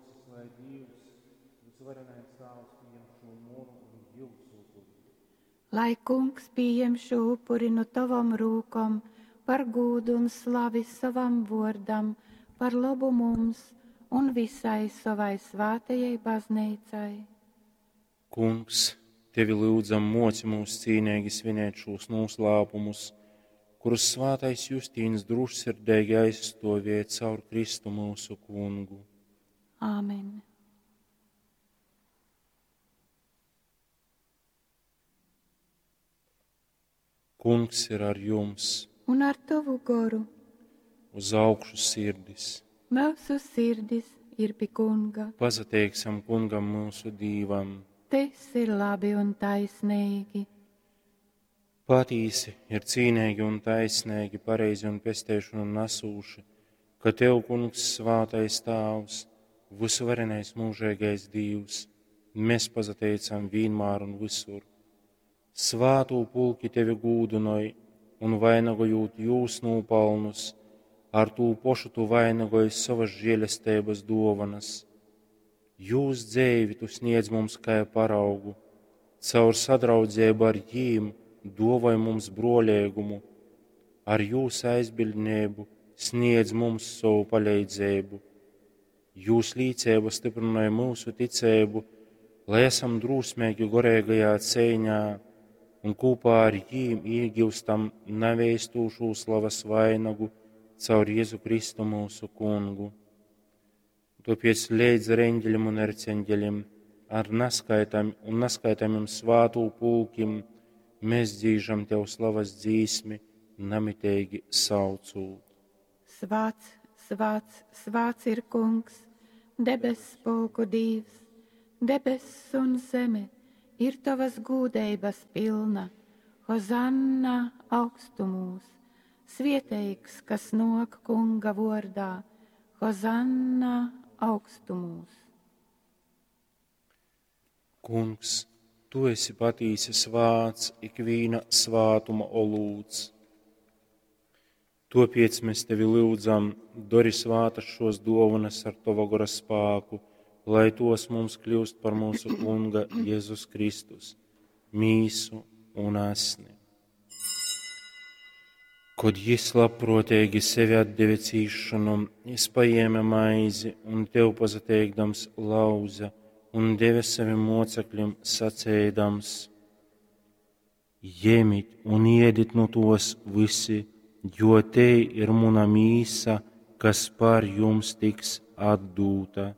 Muosys, lai Dīvs, Vysuvarenais Tāvs, pījem šū munu un jiusu upuri. Lai Kungs pījem šū upuri nu tovom rūkom par gūdu un slavi sovam vōrdam, par lobu mums un visai sovai svātajai Bazneicai. Kungs, tevi lyudzam, muoci mūs cīneigi svinēt šūs nūslāpumus, kurus svātais Justīns drūšsirdeigi aizstuovēja caur Kristu myusu Kungu. Āmen. Kungs ir ar jums, Un ar tovu goru uz augšu sirdis. mūsu sirdis ir pi Kunga. Pasateiksim Kungam mūsu Dīvam. Tas ir labi un taisnīgi. Patīsi ir cīnīgi un taisnīgi, pareizi un pesteišanu nesūši, ka Tev, Kungs, svātais Tāvs, vysuvarenais mūžīgais Dīvs, mēs pasateicam vienmēr un visur. Svātū pulki Tevi gūdinoj un vainagojot jūs nopelnus, ar tū pošu Tu vainagoji savas žēlestības dovanas. Jūs dzēvi Tu sniedz mums kā paraugu, caur sadraudzību ar jīm dovoj mums brolēgumu, ar jūs aizbildnību sniedz mums savu palīdzību. Jūs līdzība stiprināja mūsu ticību, lai esam drosmīgi gorīgajā cīņā un kopā ar jīm iegūstam neveistūšu slavas vainagu caur Jēzu Kristu mūsu kungu. Tāpēc līdz ar eņģeļiem un erceņģeļiem, ar neskaitam un neskaitamiem svātū pulkim, mēs dzīžam Tev slavas dzīsmi, namitīgi saucūt. Svāts, svāts, svāts ir Kungs, debess pulku Dīvs, debess un zeme ir tavas gūdeibas pilna. Hozanna augstumūs, svieteigs, kas nok Kunga vordā, Hozanna augstumūs. Kungs, Tu esi patīsi svāts, ikvīna svātuma olūts. Tāpēc mēs tevi lūdzam, dori svātas šos dovanas ar tava gora spāku, lai tos mums kļūst par mūsu Kunga Jēzus Kristus, mīsu un asni. Kad jis labprātīgi sevi atdeva cīšanom, jis paēma maizi un tev pasateikdams lauza un deva saviem mocekļiem sacēdams: Ņemiet un ēdiet no tos visi, jo te ir muna mīsa, kas par jums tiks atdūta.